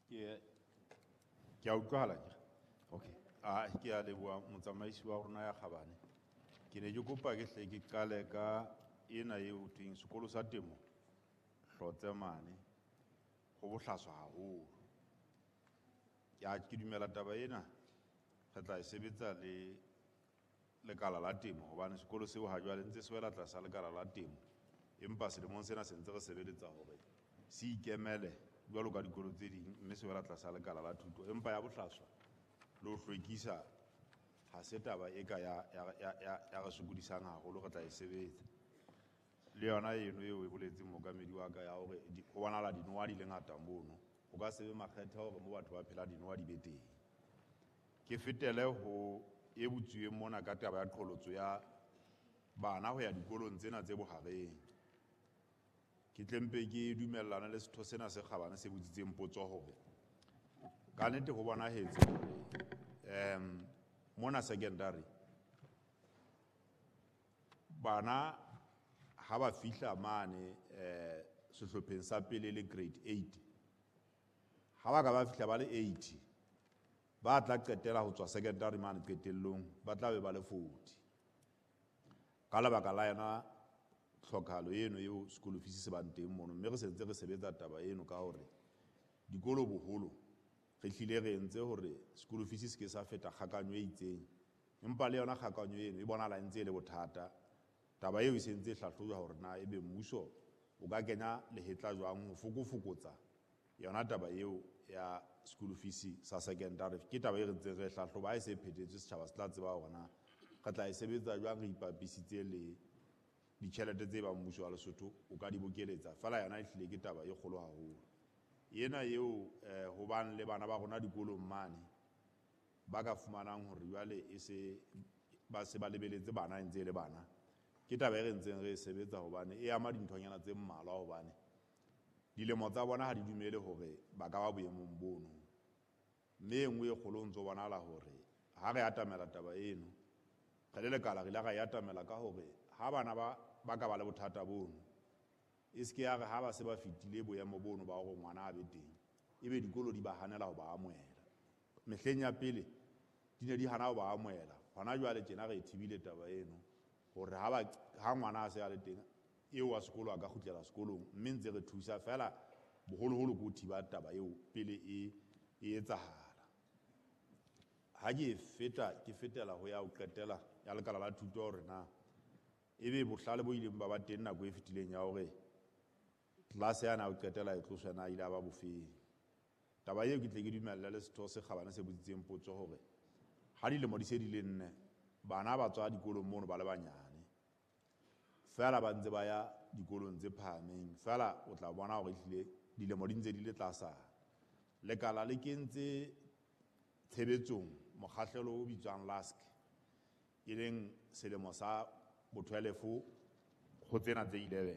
Ke a utlwahala ke? Okay. Ah, ke a leboha motsamaisi wa rona ya kgabane. Ke ne ke kopa ke hle ke qale ka ena eo ho thweng sekolo sa temo Hlotse mane ho bohlaswa haholo. Ke dumela taba ena re tla e sebetsa le lekala la temo hobane sekolo seo ha jwale ntse se wela tlasa lekala la temo, empa selemong sena se ntse re sebeletsa hore se ikemele jwalo ka dikolo tse ding, mme se wela tlasa lekala la thuto. Empa ya bohlaswa le ho hlwekisa ha se taba e ka ya re sokodisang haholo, re tla e sebetsa. Le yona eno eo e boletseng mookamedi wa ka ya hore ho bonahala dinoha di le ngata mono, ho ka se be makgethe hore mo batho ba phela dinoha di be teng. Ke fetele ho e botsuweng mona ka taba ya qholotso ya bana ho ya dikolong tsena tse bohareng. Ke tle mpe ke dumellana le setho sena se kgabane se botsitseng potso hore ka nnete ho bonahetse hore mona secondary bana ha ba fihla mane sehlopheng sa pele le grade 8, ha ba ka ba fihla ba le 80, ba tla qetela ho tswa secondary mane qetellong ba tla be ba le 40. Ka lebaka la yona tlhokahalo eno eo school fees se bang teng mono, mme re sentse re sebetsa taba eno ka hore dikolo boholo re hlile re entse hore school fees se ke sa feta kgakanyo e itseng, empa le yona kgakanyo eno e bonahala e ntse e le bothata. Taba eo e sentse e hlahlojwa hore na ebe mmuso o ka kenya lehetla jwang ho fokofokotsa yona taba eo ya school fees sa secondary. Ke taba e re ntseng re e hlahloba, ha e se e phethetswe setjhaba se tla tseba hore na re tla e sebetsa jwang re ipapisitse le ditjhelete tse bang mmuso wa Lesotho o ka di bokeletsa. Feela yona e hlile ke taba e kgolo haholo. Ena eo ho bang le bana ba rona dikolong mane ba ka fumanang hore jwale e se ba se ba lebeletse bana e ntse e le bana, ke taba e re ntseng re e sebetsa hobane e ama dinthonyana tse mmalwa, hobane dilemo tsa bona ha di dumele hore ba ka ba boemong bono. Mme e nngwe e kgolo ho ntso bonahala hore ha re atamela taba eno re le lekala, re ile ra e atamela ka hore ha bana ba ka ba le bothata bono, e se ke ya re ha ba se ba fetile boemo bono ba hore ngwana a be teng, ebe dikolo di ba hanela ho ba amohela. Mehleng ya pele di ne di hana ho ba amohela, hona jwale tjena re e thibile taba eno hore ha ngwana a se a le teng eo wa sekolo a ka kgutlela sekolong, mme ntse re thusa feela boholoholo ke ho thiba taba eo pele e etsahala. Ha ke feta, ke fetela ho ya ho qetela ya lekala la thuto hore na ebe bohlale bo ileng ba ba teng nako e fetileng ya hore tlelase yana ya ho qetela e tloswe na ile ya ba bofeng. Taba eo ke tle ke dumelle le setho se kgabane se botsitseng potso hore ha dilemo di se di le nne bana ba tswa dikolong mono ba le banyane feela ba ntse ba ya dikolong tse phahameng, feela o tla bona hore ehlile dilemo di ntse di le tlasana. Lekala le kentse tshebetsong mokgahlelo o bitswang LASC, e leng selemo sa bo-twelve ho tsena tse 11.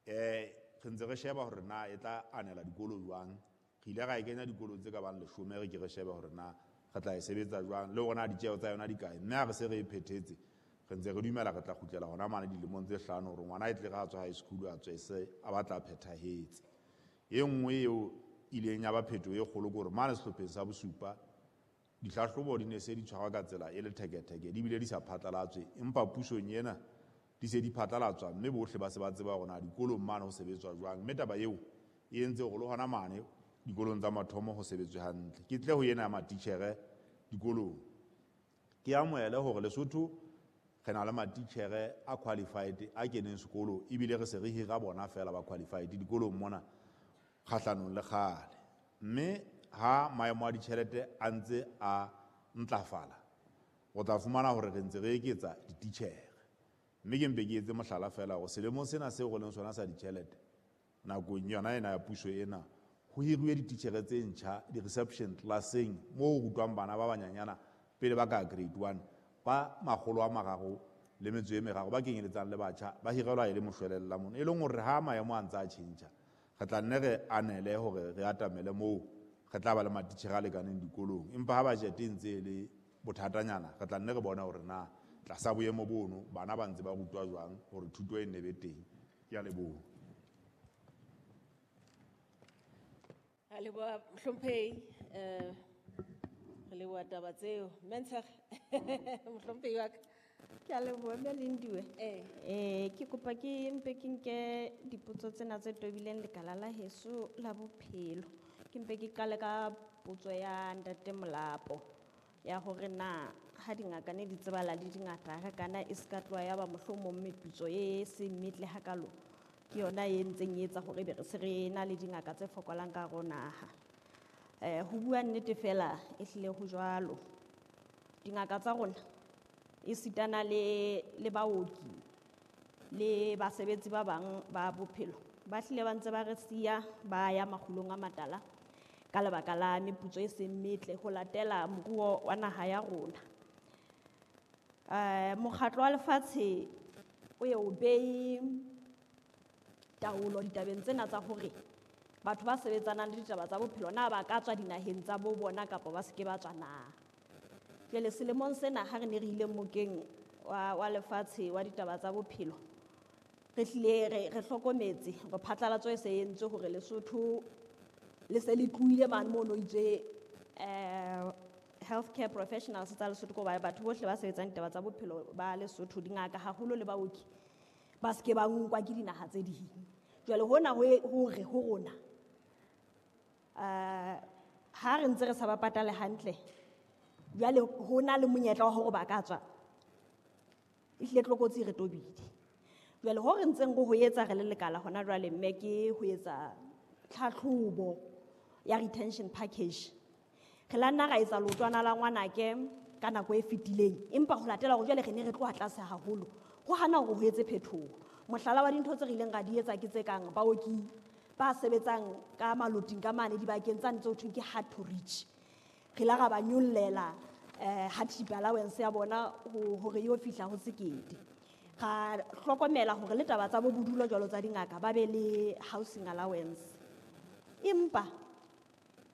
Re ntse re sheba hore na e tla anela dikolo jwang. Re ile ra e kenya dikolong tse ka bang 10, re ke re shebe hore na re tla e sebetsa jwang le hore na ditjeho tsa yona di kae. Mme ha re se re e phethetse, re ntse re dumela re tla kgutlela hona mane dilemong tse 5 hore ngwana e tle re a tswa high school a tswe se a batla a phethahetse. E nngwe eo ileng ya ba phetoho e kgolo ke hore mane sehlopheng sa bosupa dihlahlobo di ne se di tshwarwa ka tsela e letheketheke, di bile di sa phatlalatswe, empa pusong ena di se di phatlalatswa mme bohle ba se ba tseba hore na dikolong mane ho sebetswa jwang. Mme taba eo e entse hore le hona mane dikolong tsa mathomo ho sebetswe hantle. Ke tle ho ena ya matitjhere dikolong, ke amohele hore Lesotho re na le matitjhere a qualified a keneng sekolo, ebile re se re hira bona feela ba qualified dikolong mona kgahlanong le kgale. Mme ha maemo a ditjhelete a ntse a ntlafala, o tla fumana hore re ntse re eketsa dititjhere. Mme ke mpe ke etse mohlala feela hore selemong sena seo re leng sona sa ditjhelete, nakong yona ena ya puso ena, ho hiruwe dititjhere tse ntjha di-reception classeng moo ho rutwang bana ba banyanyana pele ba ka grade 1, ba makgolo a mararo le metso e meraro ba kenyeletsang le batjha ba hirelwa e le moshwelella mono. E leng hore ha maemo a ntse a tjhentjha, re tla nne re anele hore re atamele moo re tla ba le matitjhere a lekaneng dikolong. Empa ha budget e ntse e le bothatanyana, re tla nne re bone hore na tlasa boemo bono bana ba ntse ba rutwa jwang hore thuto e nne be teng. Ke a leboha. Ra leboha mohlomphehi, re leboha taba tseo. Mme Ntshege, mohlomphehi wa ka. Ke a leboha mme Lindiwe. Ee. Ke kopa ke mpe ke nke dipotso tsena tse tobileng lekala la heso la bophelo. Ke mpe ke qale ka potso ya Ntate Molapo ya hore na ha dingaka ne di tsebala di dingata ha kana e ska tloha ya ba mohlomong meputso e seng metle hakalo ke yona e ntseng e etsa hore be re se re na le dingaka tse fokolang ka hare ho naha. Ho bua nnete fela e hlile ho jwalo. Dingaka tsa rona e sitana le baoki le basebetsi ba bang ba bophelo ba hlile ba ntse ba re siya ba ya makgulong a matala ka lebaka la meputso e seng metle ho latela moruo wa naha ya rona. Mokgatlo wa lefatshe o ye o behe taolo ditabeng tsena tsa hore batho ba sebetsanang le ditaba tsa bophelo na ba ka tswa dinaheng tsa bo bona kapa ba se ke ba tswa na. Jwale selemong sena ha re ne re ile mokeng wa lefatshe wa ditaba tsa bophelo, re hlile re hlokometse hore phatlalatso e se entswe hore Lesotho le se le tlohile mane mono itswe, healthcare professionals tsa Lesotho, ko ba batho bohle ba sebetsang ditaba tsa bophelo ba Lesotho, dingaka haholo le baoki, ba se ke ba nkwa ke dinaha tse ding. Jwale hona ho e, hore ho rona, ha re ntse re sa ba patale hantle, jwale ho na le monyetla wa hore ba ka tswa, ehlile tlokotsi e re tobile. Jwale ho re ntseng re ho etsa re le lekala hona jwale, mme ke ho etsa tlhatlhobo ya retention package. Re la nna ra etsa leotwana la ngwanake ka nako e fetileng, empa ho latela hore jwale re ne re tloha tlase haholo, ho hana hore ho etse phetoho. Mohlala wa dintho tse re ileng ra di etsa ke tse kang baoki ba sebetsang ka maloting ka mane dibakeng tsane tse ho thweng ke hard to reach. Re la ra ba nyollela, hardship allowance ya bona hore yo fihla ho sekete. Ra hlokomela hore le taba tsa bo bodulo jwalo tsa dingaka ba be le housing allowance. Empa,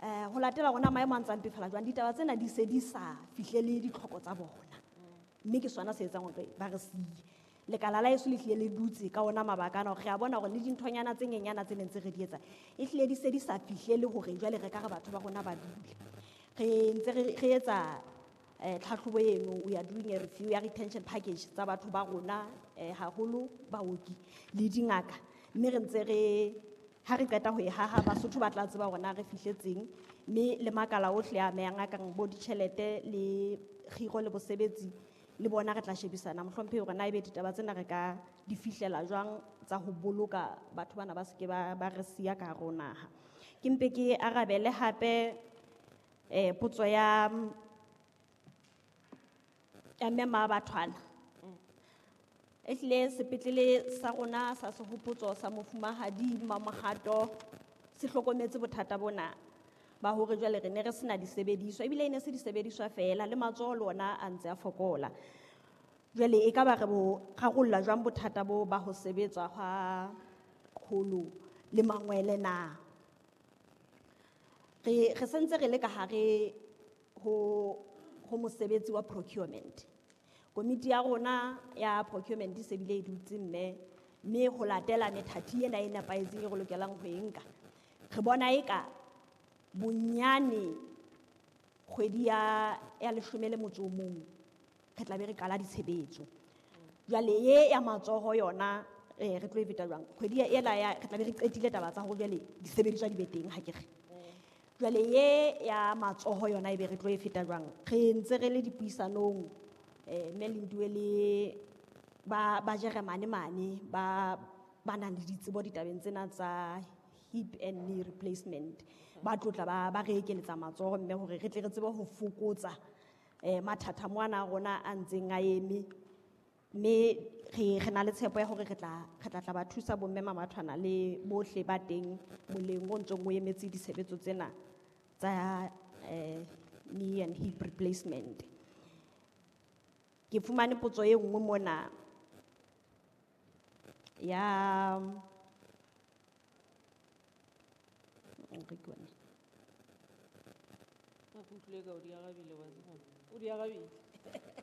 ho latela rona maemo a ntsang mpefala jwang, ditaba tsena di se di sa fihlele ditlhoko tsa bona. Mme ke sona se etsang hore ba re siye. Lekala la heso le hlile le dutse ka ona mabaka ana hore re a bona hore le dinthonyana tse nyenyana tse neng tse re di etsa, e hlile di se di sa fihlele hore jwale re ka re batho ba rona ba dule. Re ntse re etsa, tlhatlhobo eno, we are doing a review ya retention package tsa batho ba rona, haholo baoki le dingaka. Mme re ntse re, ha re qeta ho e haha, Basotho ba tla tseba hore na re fihletseng, mme le makala ohle a amehang a kang bo ditjhelete le kgiro le bosebetsi, le bona re tla shebisana mohlomphehi hore na ebe ditaba tsena re ka di fihlela jwang tsa ho boloka batho bana ba se ke ba re siya ka hare ho naha. Ke mpe ke arabele hape, potso ya mme Mabathwana. Ehlile sepetlele sa rona sa Sehopotso sa Mofumahadi Mamohato se hlokometse bothata bona ba hore jwale re ne re sena disebediswa, ebile e ne se disebediswa feela, le matsoho le ona a ntse a fokola. Jwale e ka ba re bo rarolla jwang bothata bo ba ho sebetswa hwa kgolo le mangwele na? Re sentse re le ka hare ho mosebetsi wa procurement. Komiti ya rona ya procurement e se bile e dutse mme ho latela methati ena e nepahetseng e re lokelang ho e nka. Re bona eka bonyane kgwedi ya leshome le motso o mong re tla be re qala ditshebetso. Jwale e ya matsoho yona, re tlo e feta jwang? Kgwedi ela ya, re tla be re qetile taba tsa hore jwale disebediswa di be teng, ha ke re. Jwale e ya matsoho yona e be re tlo e feta jwang? Re ntse re le dipuisanong, mme Lindiwe le ba Jeremane mane, ba nang le ditsebo ditabeng tsena tsa hip and knee replacement. Ba tlotla ba re ekeletsa matsoho mme hore re tle re tsebe ho fokotsa, mathata mona a rona a ntseng a eme. Mme re na le tshepo ya hore re tla tla ba thusa bomme Mamathwana le bohle ba teng moleng o ntsong o emetse ditshebetso tsena tsa, knee and hip replacement. Ke fumane potso e nngwe mona ya, re ke bone. Nna ke utlwile ka o di arabile wa tseba. O di arabile.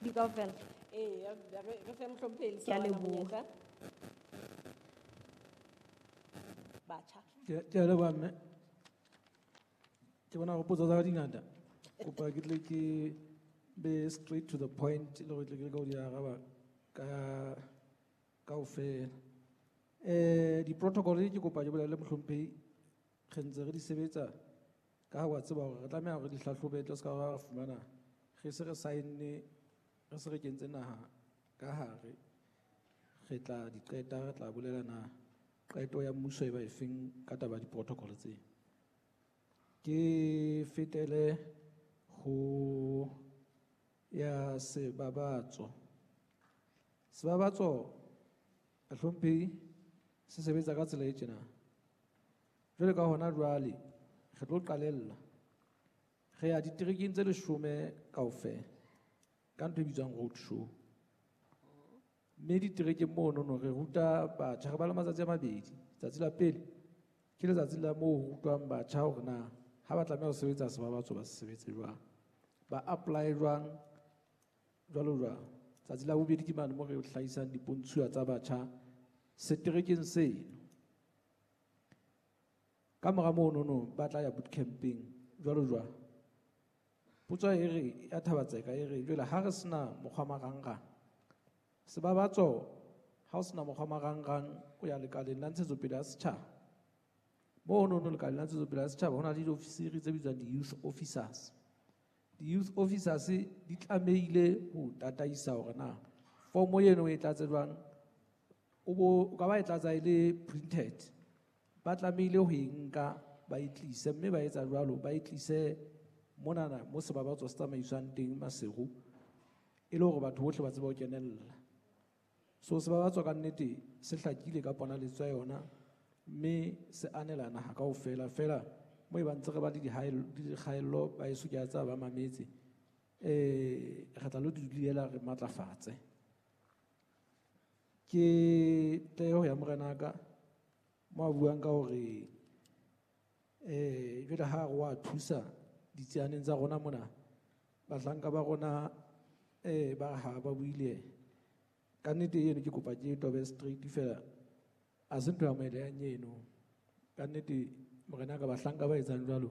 Di kaofela? Ee, re fe mohlomphehi Ke a Lesawana leboha. monyetla. Batjha. Ke a leboha mme. Ke bona hore potso tsa ka di ngata. Kopa ke tle ke be straight to the point le hore tle ke leke ho di araba ka kaofela. Di-protocol ke kopa ke bolelle mohlomphehi re ntse re di sebetsa ka ha wa tseba hore re tlameha hore di hlahlobe tle se ka ra fumana re se re sign-ne re se re kentse naha ka hare re tla di qeta re tla bolela na qeto ya mmuso e ba efeng ka taba ya di-protocol tse. Ke fetele ho ya sebabatso. Sebabatso bahlomphehi se sebetsa ka tsela e tjena. Jwale ka hona jwale re tlo qalella re ya diterekeng tse 10 kaofela ka ntho e bitswang road show. Mme diterekeng monono re ruta batjha, re ba le matsatsi a mabedi. Tsatsi la pele ke letsatsi la moo ho rutwang batjha hore na ha ba tlameha ho sebetsa sebabatso ba se sebetse jwang, ba apply jwang, jwalo jwalo. Tsatsi la bobedi ke mane moo re hlahisang dipontshuwa tsa batjha seterekeng seno. Ka mora monono ba tla ya bootcamping jwalo jwalo. Potso e re ya Thabatseka e re jwale ha re sena mokgwa marangrang, sebabatso ha o sena mokgwa marangrang o ya lekaleng la ntshetsopele ya setjhaba. Monono lekaleng la ntshetsopele ya setjhaba ho na le diofisiri tse bitswang di-youth officers. Di-youth officers di tlamehile ho tataisa hore na fomo eno e tlatse jwang, o bo o ka ba e tlatsa e le printed. Ba tlamehile ho e nka ba e tlise, mme ba etsa jwalo ba e tlise monana mo sebabatso se tsamaiswang teng Maseru, e le hore batho bohle ba tsebe ho kenella. So sebabatso ka nnete se hlakile ka ponaletso ya yona, mme se anela naha kaofela. Feela mo e ba ntse re ba le dikgaello ba eso ke a tseba ba mametse, re tla lo di dulela re matlafatse. Ke tleho ya morenaka mo a buang ka hore jwale ha re wa thusa ditsianeng tsa rona mona, bahlanka ba rona ba ha ba buile ka nnete eno, ke kopa ke tobe straight fela, a se ntho ya moeleyang eno. Ka nnete morenaka bahlanka ba etsang jwalo